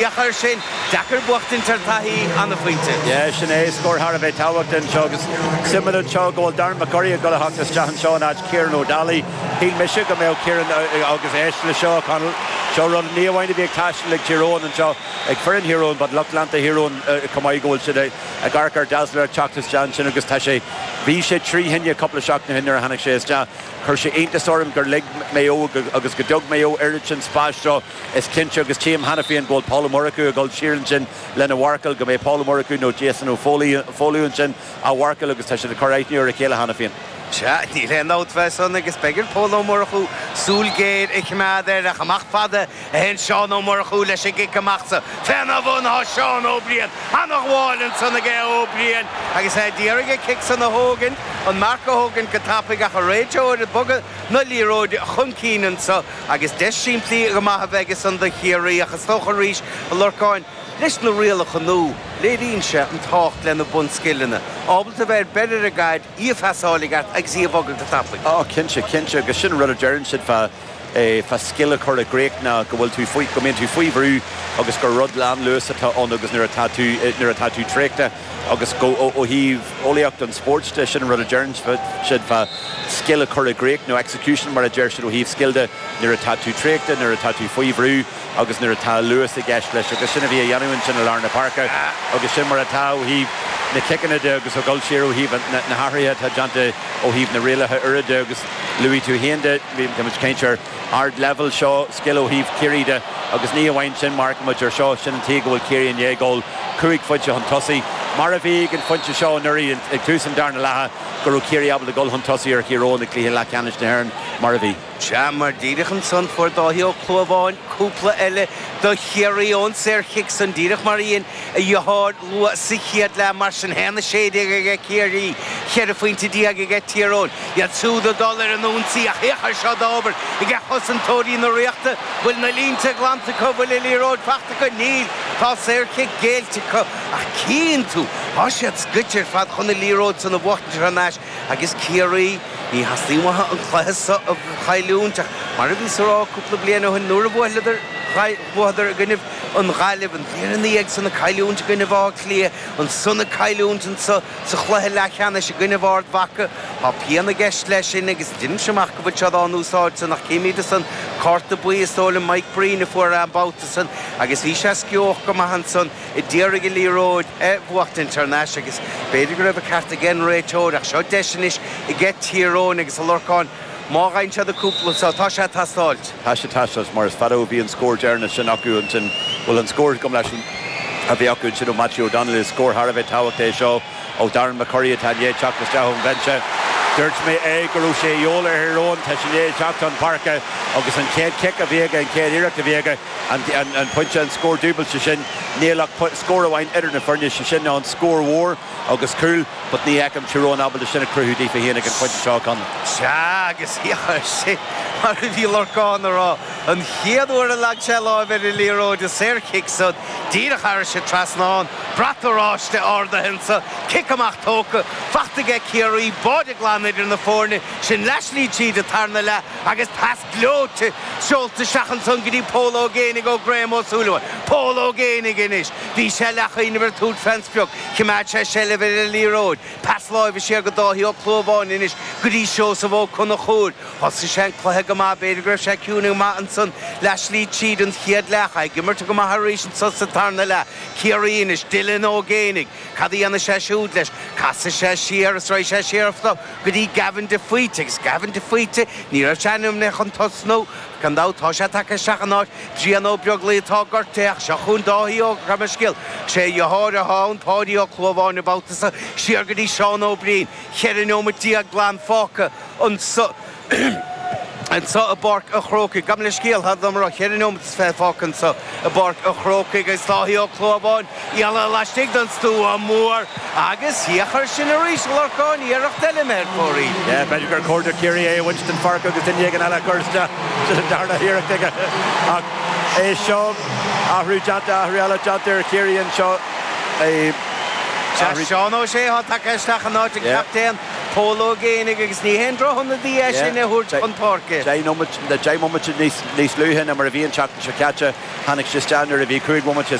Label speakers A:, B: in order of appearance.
A: Féach air sin, deacair buachtaint ar taithí, ana-phointe.
B: Yeah, sin é, scór thar a bheith tábhachtach anseo agus suimiúil anseo go bhfuil Darren McCurry ag dul a theacht isteach anseo in áit Kieran O'Dalaigh. Shíl mise go mbeadh Kieran agus éist le seo, Conall, seo rud ní amháin a bhí ag taisteal ag Tír Eoghain anseo, ag foireann Thír Eoghain but lucht leanta Thír Eoghain chomh maith go bhfuil siad ag amharc ar Dazzler ag teacht isteach ansin agus tá sé, bhí sé trí thine cúpla seachtain ó shin nuair a tháinig sé isteach. Chuir sé iontas orm gur lig Maigh Eo agus go dtug Maigh Eo oiread sin spáis dó. Is cinnte, agus tchím cheana féin go bhfuil Paul Ó Murchú ag dul siar ansin lena mharcáil, go mbeidh Paul Ó Murchú nó Jason Ó Foghlú ansin á mharcáil agus tá siad ag cur aithne ar a chéile cheana féin.
A: Sea, níl aon dabht fé san agus beidh ar Pól Ó Murchú súil ghéar a choimeád air ach amach fada a théann Seán Ó Murchú leis an gcic amach so. Féna bhun tá Seán Ó Briain, ana-ghabháil ansan aige Ó Briain agus é d'iarraidh an cic san a thógaint, an marc a thógaint go tapaidh ach an réiteoir ag bogadh na liathróide chun cinn anso. Agus deis simplí go maith a bheidh ansan do Chiarraí ach is dócha arís, a Lorcáin, leis na rialacha nua, léiríonn sé an tábhacht le na bunscileanna. Ábalta bheith ar beir ar an gcaid, í a phasáil i gceart agus í a bhogadh go tapaidh.
B: Á, cinnte, cinnte. Agus sin an rud a deireann siad fá, fá scil a chur i gcrích ná go bhfuil tú faoi, go mbíonn tú faoi bhrú agus gur rud lán-luas atá ann agus nuair atá tú, nuair atá tú traochta, Agus ó thaobh eolaíocht an spóirt de, sin an rud a deireann siad fá scil a chur i gcrích, nó execution mar a deir siad ó thaobh scil de, nuair atá tú traochta, nuair atá tú faoi bhrú agus nuair atá luas i gceist leis. Agus sin a bhí á dhéanamh ansin i lár na páirce agus sin mar atá ó thaobh na ciceanna de agus ag dul siar ó thaobh na hathruithe atá déanta ó thaobh na rialacha úra de agus luaigh tú féin de, bhí muid ag caint ar ardleibhéal seo, scil ó thaobh Chiarraí de agus ní amháin sin, mar a fheicimid ar seo, sin an tuige go bhfuil Ciarraí i ndiaidh dul cúig phointe chun tosaigh, mar a bhí ag an phointe seo anuraidh ag tús an darna leatha, go raibh Ciarraí ábalta dul chun tosaigh ar Thír Eoghain i gcluiche leathcheannais na hÉireann, mar a bhí.
A: Sea, mar díreach ansan fuair Dáithí Ó Clúmháin cúpla eile do Chiarraí ón saorchic san, díreach mar a dhein a dheartháir luath sa chéad leath. Mar sin féin, 16 aige Ciarraí, 14 phointe aige Tír Eoghain. Iad siúd ag dul ar an ionsaí ach féach air seo d'obair aige chosantóirí na Ríochta. Bhfuil na línte glanta acu? Bhfuil an liathróid fachta acu? Níl. Tá saorchic géillte acu. Ach cíonn tú, tá siad scoite ar fad chun an liathróid san a bhuachtaint thar n-ais agus Ciarraí, ní theastaíonn uathu an cluiche so a chailliúint ach mar a bhíos a rá cúpla bliain ó shin nuair a bhuaileadar, bhuadar i gcoinnibh an Ghaillimh, an bhliain ina dhiaidh san ag cailliúint i gcoinnibh Átha Cliath, ansan ag cailliúint anso Sa chluiche leathcheannais i gcoinnibh Ard Mhacha, tá pian i gceist leis sin agus deinimse amach go bhfuil siad á n-úsáid san ach címid ansan cárta buí is dóigh liom Mike Breen a fuair an babhta san agus bhí sé sceoch go maith ansan a d'iarraidh an liathróid a bhuachtaint thar n-ais agus b'fhéidir go raibh an ceart ag an réiteoir ach seo deis anois aige Tír Eoghain agus a Lorcáin má fhaigheann siad an cúpla so tá sé ag teastáilt.
B: Tá sé ag teastáilt mar is fada ó bhí an scór deireanach sin acu ansin, bhuel an scór gabh mo leithscéal a bhí acu ansin ó Matthew O'Donnell, is scór thar a bheith tábhachtach é seo ó Darren McCurry atá i ndiaidh teacht isteach ón bhinse. Dúirt mé é go raibh sé de dhíobháil ar Thír Eoghain, tá sé i ndiaidh teacht chun páirce agus an chéad chic a bhí aige, an chéad iarracht a bhí aige, an pointe, an scór dúbailte sin, níl ach scór amháin idir na foirne, sé sin ná an scór mhór agus cúl. But ní fheicim Tír Eoghain ábalta sin a chruthú daofa féin ag an phointe seo, Conall.
A: Sea, agus féach air sin, mar a bhí Lorcán a rá, an chéad uair a leag sé láimh ar an liathróid, an saorchic san, díreach thairis an trasnán, brat oráiste ardaithe anso, cic amach tógtha, fachta aige Ciarraí, báide glan idir na foirne, sin leathshlí tríd an tarna leath agus pas gleoite seolta isteach ansan go dtí Pól Ó Géibheannaigh ó Graham Ó Súilleabháin. Pól Ó Géibheannaigh anois. Bhí sé leathchuimhneamh ar tabhairt fén sprioc. Choimeád sé seilbh ar an liathróid. Pas láimhe siar go Dáithí Ó Clúmháin anois go dtí Seosamh Ó Conchúir. Thosaigh sé an cluiche go maith. B'fhéidir go raibh sé ciúin go maith ansan leathshlí tríd an chéad leath. Ag imirt go maith arís anso sa tarna leath. Ciarraí anois. Dylan Ó Géibheannaigh. Cad a dhéanfaidh sé siúd leis? Casfaidh sé siar is raghaidh sé siar go dtí Gavin de Faoite. Agus Gavin de Faoite, ní raibh sé ainmnithe chun tosnú. Gan dabht, tá sé tagtha isteach in áit Bhrian Ó Beaglaoich atá gortaithe ach seo chugainn Dáithí Ó, gabh mo leithscéal, sé a dheartháir atá ann, Páidí Ó Clúmháin an babhta seo, siar go dtí Seán Ó Briain. 14 neomat glan fágtha anso. Anso i bPáirc an Chrócaigh. Gabh mo leithscéal, tá dom a rá, cheithre neomat is fiche fágtha anso i bPáirc an Chrócaigh agus Dáithí Ó Clúmháin iallach laistigh den stua mór agus féach air sin arís, a Lorcáin, iarracht eile imithe ar fóraoil.
B: Yeah, b'fhéidir gur chóir do Chiarraí é a bhaint den pháirc agus duine éigin eile a chur isteach. Sin an darna hiarracht aige. Ach é seo, athrú déanta, athrú eile déanta ar Chiarraí anseo.
A: Sea, Seán Ó Sé atá tagtha isteach in áit an captaen. Pól Ó Géibheannaigh agus ní haon drochionadaí é sin a thabhairt chun páirce.
B: 10 nóiméad, 10 mbomaite níos luaithe ná mar a bhí an tseachtain seo caite. Tháinig sé isteach nuair a bhí 5 bhomaite.